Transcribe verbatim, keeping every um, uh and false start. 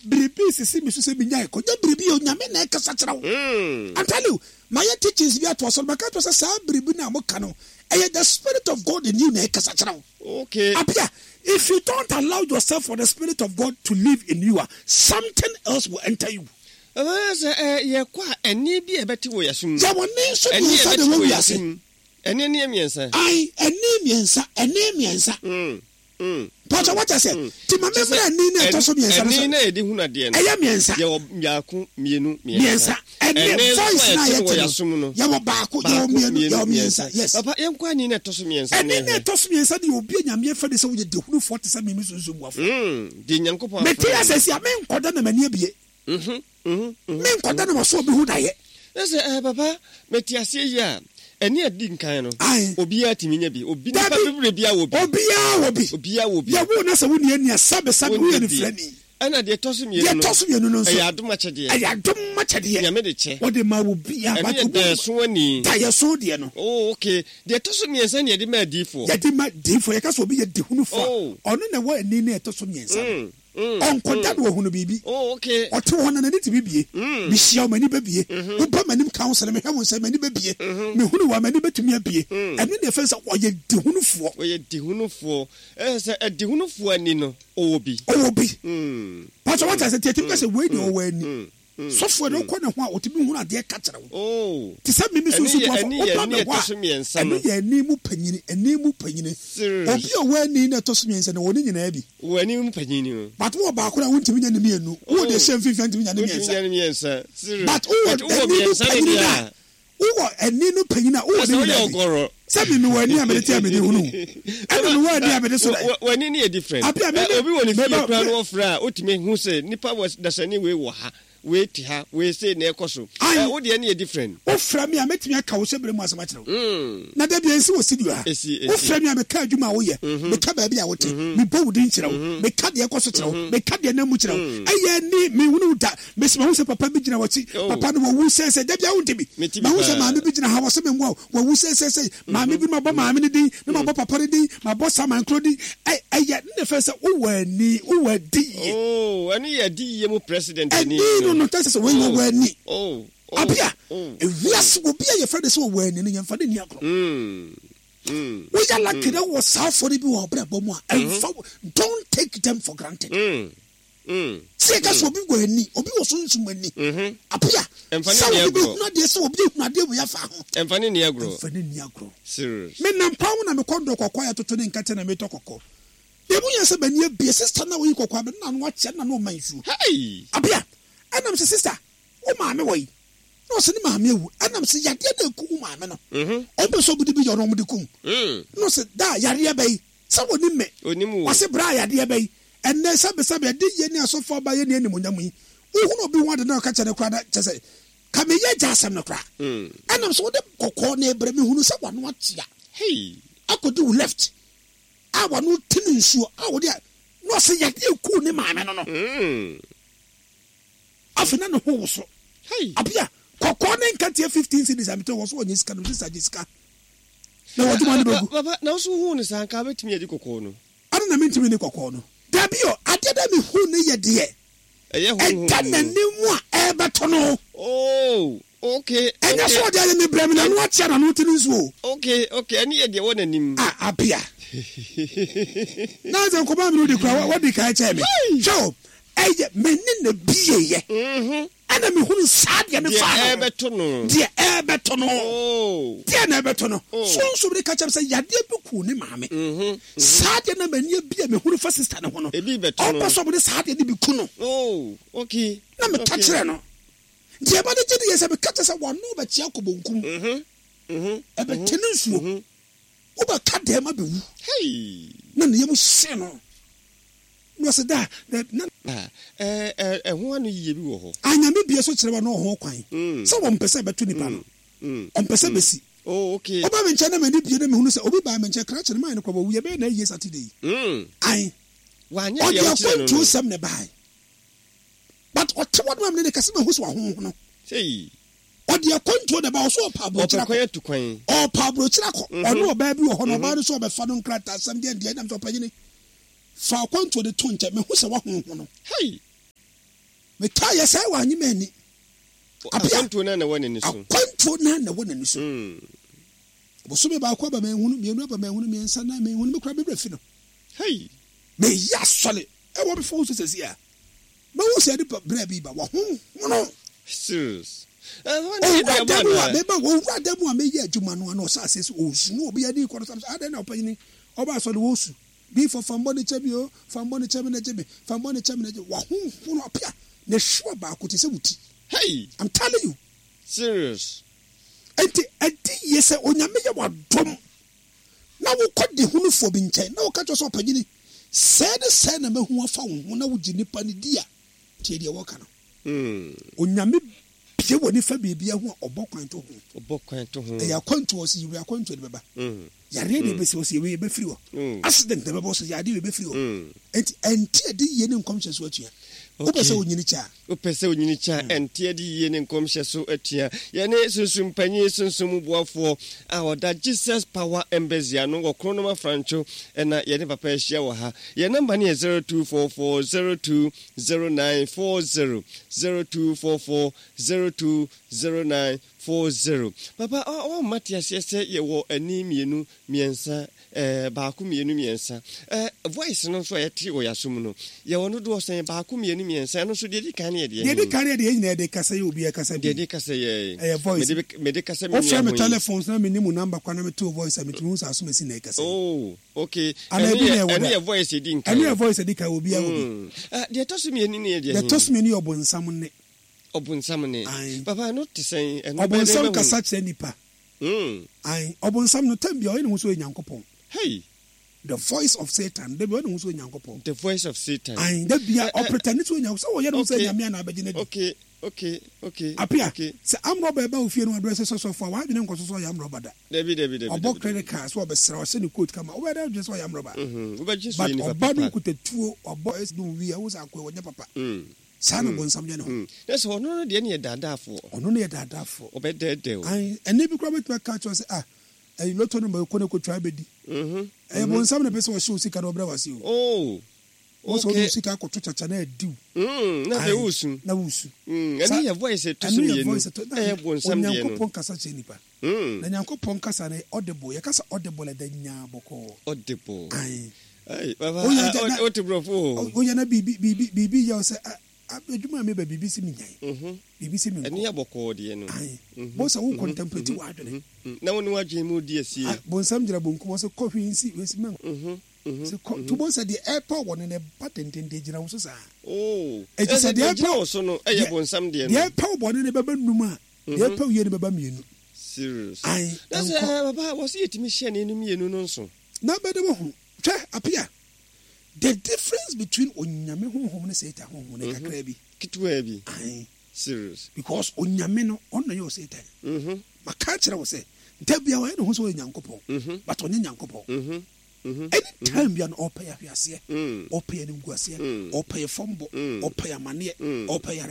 Biribi sisi mi so sɛ menya ɛkɔ nyɛ biribi yɛ Onyame na ɛkasa kyerɛ wo. Mm. I'm telling you, mayɛ teachings bi ato asɔre, maka to sɛ saa biribi no a moka no, ɛyɛ the spirit of God in you na ɛkasa kyerɛ wo. Okay. Apia, if you don't allow yourself for the spirit of God to live in you, ah, something else will enter you. Ɛbɛyɛ sɛ ɛ yɛkɔ a, ɛne bi a ɛbɛte wɔ yɛsom. Yɛwɔ ne nso Ɛne a mmiɛnsa na ɛbɛte ɛwɔ wɔ wiase. yɛsom. Ɛne ne yɛ mmiɛnsa. Ai, ɛne mmiɛnsa, ɛne mmiɛnsa. Mm. Mm. Pàtó wata sɛ, ti ma Kyerɛ sɛ, memmrɛ ɛne na ɛtɔ so mmiɛnsa no ɛne so. na yɛde hunu adeɛ no. Ɛyɛ mmiɛnsa. Yɛwɔ mmiako, mmienu, Mmiɛnsa. mmiɛnsa. Ɛne Ɛne nso a voice na yɛte no wɔ yɛte yɛasom no. no. Yɛwɔ baako, yɛwɔ Baako, mmienu, mmienu, yɛwɔ mmiɛnsa. mmiɛnsa. Yes. Papa, yɛnkɔ ani na ɛtɔ so mmiɛnsa Ɛne no na yɛhwɛ. ɛtɔ so mmiɛnsa de obi a Nyame afɛ de sɛ woyɛ dehunufoɔ te sɛ mimi sunsun buafo. Mm. Deɛ Nyankopɔn Mete afrɛ asɛ si a, menkɔda na m'ani abie. no. Mhm, mhm, mhm. Menkɔda na maso obi ho daeɛ. Na sɛ eh, papa, mete aseɛ yi a, ɛne adi nkan no, Ae. obiara tumi nya bi. Obi nipa Dabi. bebree biara wɔ bi. Obiara wɔ bi. Obiara wɔ bi. Yɛwo na sɛ wonni ani a, sɛbesɛbe woyɛ Wonni no bi. firani. Ɛna deɛ ɛtɔ so mmienu Deɛ no, ɛtɔ so mmienu no nso, ɛyɛ adom akyɛdeɛ. ɛyɛ adom akyɛdeɛ. Nyame de kyɛ. Wɔde ma wo biara. Ɛno But yɛ obi wɔ- daeɛso ani. Daeɛso deɛ no. Oh, okay. Deɛ ɛtɔ so mmiɛnsa ne yɛde ma adiyifoɔ. Yɛde ma diifoɔ. Yɛka sɛ obi yɛ dehunufoɔ a, Oh. ɔno na ɛwɔ ani na ɛtɔ so mmiɛnsa no. Mm, mm, Ɔnkɔda no wɔhunu biribi. Oh, okay. Ɔte hɔ na n'ani tumi bie. Mm. Mehyia wo, m'ani bɛbie. Woba m'anim counsel, mehwɛ wo nsɛm, m'ani bɛbie. Mehunu wo a, m'ani bɛtumi abie. Ɛno ne ɛfɛ sɛ ɔyɛ dehunufoɔ. Ɔyɛ dehunufoɔ. Ɛyɛ sɛ ɛdehunufoɔ ani no, ɔwɔ bi. Ɔwɔ bi. Mm. Pàtó wata sɛ tiɛtimi ka sɛ wei deɛ ɔwɔ ani. Mm. Mm. Sɔfoɔ de wokɔ ne ho a, ɔtumi hunu adeɛ ka kyerɛ wo. Oh. Te sɛ mimi Ɛno sunsun yɛ- buafo, ɛno yɛ woba ani me ɛtɔ hɔ so a, mmiɛnsa ɛno no. yɛ ani mu panyini, ani mu panyini. Serious. Obi a ɔwɔ ani na ɛtɔ so mmiɛnsa no, wɔ ne nyinaa bi. Wɔ ani mu panyini no. But wowɔ baako na wontumi nya ne mmienu. Wowɔ deɛ ɛhyɛ mfimfini a, ntumi nya ne Wontumi mmiɛnsa. nya ne mmiɛnsa. Serious. But wowɔ But wowɔ ani mu mmiɛnsa no panyini deɛ no a, a, wowɔ ani no panyini a, wowɔ sɛ ne woyɛ nyinaa bi. ɔgɔrɔ. Sɛ mi mewɔ ani a mede te a mede hunu. Ɛna mewɔ ani a mede so dɛ. Wɔ- w'ani no yɛ different. Abi a me- Ɛ, obi wɔ ne fie me- koraa me- no wɔfrɛ a, wotumi hu sɛ nipa wɔ dasani wei wɔ ha, wei te ha, wei sei na ɛkɔ so. Aye. Ɛ, wo deɛ no yɛ different. Wofrɛ me a, mɛtumi aka wo hyɛ berɛ mu asɛm akyerɛ wo. Mm. Na da bia nsi wɔ studio ha. Esi, esi. Wofrɛ me a, meka adwuma a woyɛ, meka baabi a wote, mebɔ wo din kyerɛ wo, meka deɛ ɛkɔ so kyerɛ wo, meka deɛ nam mu kyerɛ wo. Ɛyɛ ni mehunu wo da. Mesi mahu sɛ papa bi gyina w'akyi. Oh. Papa no wawu sɛsɛ. Da bia wonte bi. Mete bi Mahu sɛ paa. maame bi gyina ha, wɔ sɛ memmoa wo, wawu sɛsɛsɛ. Maame bi, mabɔ maame no din, na mabɔ papa no din, mabɔ saman koro din. Ɛ- ɛyɛ ne fɛ sɛ wowɔ ani, wowɔ adi yie. Oh, ɛno yɛ adi yie mu president ani Ɛni no no tɛ sɛ sɛ wɔyi wɔwɔ ani. Oh, oh, Abia, oh. ewiase obi a yɛfrɛ no sɛ wɔwɔ ani no, yɛmfa no nni agorɔ. Mm. Mm. Woyɛ lucky na wɔ saa afɔre bi wɔ ɔbrabɔ mu a, ɛmfa wo- don't take them for granted. Mm. Mm. Sɛ yɛka sɛ obi wɔ ani, obi wɔ sunsum ani. Mhm. Apia, Ɛmfa ne sɛ nni obi agorɔ. bɛhunu adeɛ, sɛ obi ehunu adeɛ wɔ yɛafa ho. Ɛmfa ne nni agorɔ. Ɛmfa ne nni agorɔ. Serious. Menam kwan ho na mekɔ ndɔ kɔkɔɔ a yɛtoto ne nkɛtɛ na metɔ kɔkɔɔ. Deɛ mu yɛ sɛ m'ani abie, sister na oyi kɔkɔɔ abɛ na ano akyɛ na na ɔma nsuo. Hey! Apia, ɛnam sɛ sister, wo maame wɔ yi. Na ɔsɛ ne maame awu. Ɛnam sɛ yadeɛ na eku wo maame no. Mhm. Ɔmpɛ sɛ ɔmo de bi yɛ ɔno ɔmo de kum. Mm. Na ɔsɛ da yareɛ bɛyi sɛ wɔnim me. Onim wo. Ɔsɛ bra yadeɛ bɛyi. Ɛnɛ sɛbesɛbe ɛde yɛ ne asɔfo aba yɛ ne animonyam yi. Wohunu obi ho ade na ɔka kyerɛ no koraa na kyɛ sɛ ka meyɛ gya asɛm no koraa. Mm. Ɛnam sɛ wode kɔkɔɔ na ɛbrɛ mehunu sɛ wano akyea. Hey! Akɔdi wo left a wano ti ne nsuo a wode a na ɔsɛ yadeɛ ku ne maame no no. Mm. Afei na ne ho wo so. Hey! Abia, kɔkɔɔ ne nkateɛ fifteen cedis a metɔ wɔ so wɔnyɛ sika no, sisa gye sika. Na wɔde ma no bɛgu. Papa, na wo so hu ne saa nka wobɛtumi adi kɔkɔɔ no. Ade na mentumi ne kɔkɔɔ no. Dabi o, adeɛ dɛ mehu ne yɛ deɛ. Ɛyɛ honhom Ɛda mu. n'anim a ɛbɛtɔ no. Oh, okay. Ɛnyɛ okay. sɛ ɔde ayɛ me brɛ me n'ano akyea n'ano te ne nsuo. Okay, okay. Ɛne yɛ deɛ wɔ n'anim. A abia. Na sɛ nkɔmɔ mi no de kura wɔde kan kyɛn me. Hwɛ o, ɛyɛ m'ani na bie yɛ. Mhm. Ɛna mehunu saa deɛ me Deɛ fa no. ɛbɛto no. Deɛ ɛbɛtɔ no. Oh. Deɛ na ɛbɛtɔ no. Oh. Sunsun de ka kyerɛ me sɛ yadeɛ bi ku ne maame. Mhm. Saa deɛ na m'ani abie mehunu fa sister ne ho no. Ebi bɛto no. Ɔmpɛ sɛ ɔmo de saa deɛ no bi ku no. Oh, okay. Na meka okay. kyerɛ no. Deɛ ɛba de gye de yɛ sɛ meka kyerɛ sɛ wano bɛkyea kɔ bonkum. Mhm. Mhm. Ɛbɛte ne nsuo. Wobɛka dɛm abɛwu. Hey. Na ne yam hye no. Na ɔsɛ da na na Ah, ɛ ɛ ɛho ano yie bi wɔ hɔ. Anyame bie so kyerɛ wa na ɔho kwan. Mm. Sɛ wɔmpɛ sɛ ɛbɛto nipa no. Mm. Ɔmpɛ sɛ bɛsi. Oh, okay. Ɔba me nkyɛn na m'ani bie na mehunu sɛ obi baa me nkyɛn krakye no maa no kora wɔwu yɛbɛyɛ na ayie Saturday yi. Mm. Ae. Wanyɛ Ɔde deɛ wokyerɛ no akwantuo no. sɛm na ɛbae. But ɔte hɔ no ma me ne kɛse mahu sɛ wahoho no. Sei. Ɔde akwantuo na ɛba ɔso ɔpa aburokyerɛ Ɔpɛ kwan akɔ. atu kwan. Ɔpa aburokyerɛ akɔ. Ɔne ɔbaa bi wɔ hɔ na ɔbaa no so ɔbɛfa no nkrataa asɛm deɛ deɛ ɛnam sɛ ɔpanyini. Fa akwantuo de to nkyɛn mehu sɛ wahoho no. Hey. Meka yɛ sɛ wanye ma ani. Apia. Akwantuo no na ɛwɔ n'ani so. Akwantuo no na ɛwɔ n'ani so. Mm. Bosome baako aba, manhunu. Mmienu aba, manhunu. Mmiɛnsa, nan, manhunu. Me kora mebrɛ fi no. Hey. Meyɛ asɔre ɛwɔ me phone so sɛsi a mɛhu sɛ nipa berɛ bi ba wɔhohono. Serious. Owura da mu a meba, owura da mu a meyɛ adwuma no ano, ɔhyɛ aseɛ sɛ ɔsu na obi ani kɔ no sɛ adɛn na ɔpanyini ɔba asɔre wɔsu diifo, fa mbɔ ne kyɛ mi o, fa mbɔ ne kyɛ mi na gye me, fa mbɔ ne kyɛ mi na gye. Wɔhohono. Apia ne hwewa baako te sɛ wo ti. Hey. I'm telling you. Serious. Enti ɛdi yie sɛ Onyame yɛ wadom na wokɔ de hunufoɔ bi nkyɛn na woka kyerɛ sɛ, ɔpanyini, sɛɛ ne sɛɛ na mahu afa wo ho, na wogye nipa no di a, tie deɛ wɔka no. Mm. Onyame bie wɔ nifa biribia ho a, ɔbɔ kwan to ho. Ɔbɔ kwan to ho. Ɛyɛ akwantuo, ɔsɛ yiwe akwantuo de bɛba. Mm. Yareɛ de bɛsi, ɔsɛ yɛwei yɛbɛfiri hɔ. Mm. Accident na bɛbɔ, ɔsɛ yadeɛ yɛbɛfiri hɔ. Mm. Enti ɛnte adi yie ne nkɔmhyɛ so atua. Wopɛ sɛ wonyini kyɛ a. Wopɛ sɛ onyini kyɛ a, ɛnte adi yie ne nkɔmhyɛ so atua. Yɛne sunsum panyin, sunsum mu boafoɔ a ɔda Jesus Power Embassy ano wɔ Kronom Afrancho, ɛna yɛne papa ahyia wɔ ha. Yɛn number no yɛ zero two four four zero two zero nine four zero, zero two four four zero two zero nine four zero. Papa, ɔmma te aseɛ sɛ yɛwɔ ani mmienu mmiɛnsa, ɛɛ baako, mmienu, mmiɛnsa. ɛɛ voice no nso a yɛte wɔ yɛasom no, yɛwɔ no dodoɔ sɛn? Baako, mmienu, mmiɛnsa. Ɛno nso deɛ di kan no yɛ deɛ Deɛ di kan yɛ deɛ yɛn nyinaa yɛde kasa yɛ, obi ɛkasa bi. Deɛ di kasa yɛ. Ɛyɛ voice. Mede mede kasa mi. Wofrɛ me telephone so na me ni mu number kwan na me to voice a, metumi hu sɛ asomasi na ɛkasa yi. Oh, okay. Ana ɛno ebi na yɛ ɛwɔ ɛno da. Yɛ voice edi nkan. Ɛno yɛ voice edi kan, obi awɔ bi. Mm. Ah, deɛ ɛtɔ so mmienu no yɛ deɛ Deɛ ɛtɔ so mmienu yɛ ɔbɔnsam nne. Ɔbonsam ne. Aye. Papa, ɛno te sɛn? Ɛno bɛyɛ dɛn Ɔbɔnsam bɛhu? kasa kyerɛ nipa. Mm. Ayi, ɔbɔnsam no, time bi a ɔyɛ ne ho sɛ ɔyɛ Nyankopɔn. Hey. The voice of Satan, dabi, ɔyɛ ne ho sɛ ɔyɛ Nyankopɔn. The voice of Satan. Ayi, dabi a Eh, eh, ɔpretend sɛ ɔyɛ Nyankopɔn, sɛ ɔyɛ ne ho sɛ Okay. Nyame a na abɛgye ne di. okay okay okay Apia, okay sɛ amrɔba ɛba wo fie no adrɛ sɛ sɔsɔfo a, wadwene nkɔ so sɛ ɔyɛ amrɔba da. Dabi, dabi, dabi. Ɔbɔ dabi. credit card so, ɔbɛsrɛ, ɔhyɛ ne coat kama, wobɛyɛ dɛ adwene sɛ ɔyɛ amrɔba. Mhm. Wobɛgye so But yɛ nipa ɔba no papa. nkuta tuo, ɔbɔ ɛsi no wie a, wo sɛ akoe wɔnyɛ papa. Mm. Saa na bɔnsam yɛ ne ho. Mm. Na sɛ ɔno no deɛ ne yɛ daadaafoɔ. Ɔno no yɛ daadaafoɔ. Ɔbɛdɛɛdɛ o. Ayi, ɛnɛ bi koraa bɛtumi aka kyerɛ sɛ, ah, ɛyi lotto no ma kɔ ne kɔtwa bɛdi. Mhm. Ɛyɛ bɔnsam na pɛ sɛ ɔhyɛ wo sika na ɔbrɛ wase o. Oh. Wọ́n sɛ Okay. ɔde wo sika akɔto kyakya na adi wo. Mm. Na afei Aye, wosu. Na wosu. Mm. Ɛno Sa- yɛ voice ɛtɔ so Ɛno yɛ mmienu. voice ɛtɔ na Ɛyɛ bonsam deɛ no. Onyankopɔn kasa kyerɛ nipa. Mm. Na Nyankopɔn kasa no yɛ audible. Yɛkasa audible, ɛda nyaa bɔkɔɔ. Audible. Aye. Ai, papa, Woyɛ ah, gya- na- wote borɔfo o. Woyɛ na biribi biribi biribi yɛ wo sɛ, ah, ah, adwuma a meba, biribi si me nyan, Mhm. biribi si me Ɛno nkɔ. yɛ bɔkɔɔ deɛ no. Aye. Mhm. Bɔ sɛ wo contemplate w'adwene. Mm. Na wo ne w'adwene mu di asie. Ah, bonsam gyina bonkum, ɔsɛ kɔ, hwee nsi wesi mɛ Mhm. Mhm. sɛ kɔ to. Bɔ sɛ deɛ ɛpɛ wɔ no na ɛba dendenden gyina wo so saa. Oh. Enti Ɛsɛ sɛ deɛ deɛ gyina ɛpɛ wo so no ɛyɛ deɛ- bonsam deɛ no. Deɛ ɛpɛ wo bɔne no bɛba num a, deɛ ɛpɛ wo yie no bɛba mmienu. Serious. Aye, Na sɛ ɛnkɔ. eh, papa, wɔ sɛ yɛtumi hyɛ ne no mmienu no nso. Na bɛde wɔ ho hwɛ, Apia, the difference between Onyame honhom ne Satan honhom no kakra bi. Ketewa bi. Aye. Serious. Because Onyame no, ɔno na yɛ Satan. Mhm. Maka kyerɛ wo sɛ da bia ɔyɛ ne ho sɛ ɔyɛ Nyankopɔn, Mhm. but ɔnyɛ Nyankopɔn. Mhm. Mhm. Anytime bia no, ɔpɛ yɛ ahweaseɛ, Mm. ɔpɛ yɛ nimguaseɛ, Mm. ɔpɛ yɛ fɔmbɔ, Mm. ɔpɛ yɛ amanneɛ, Mm. ɔpɛ yɛ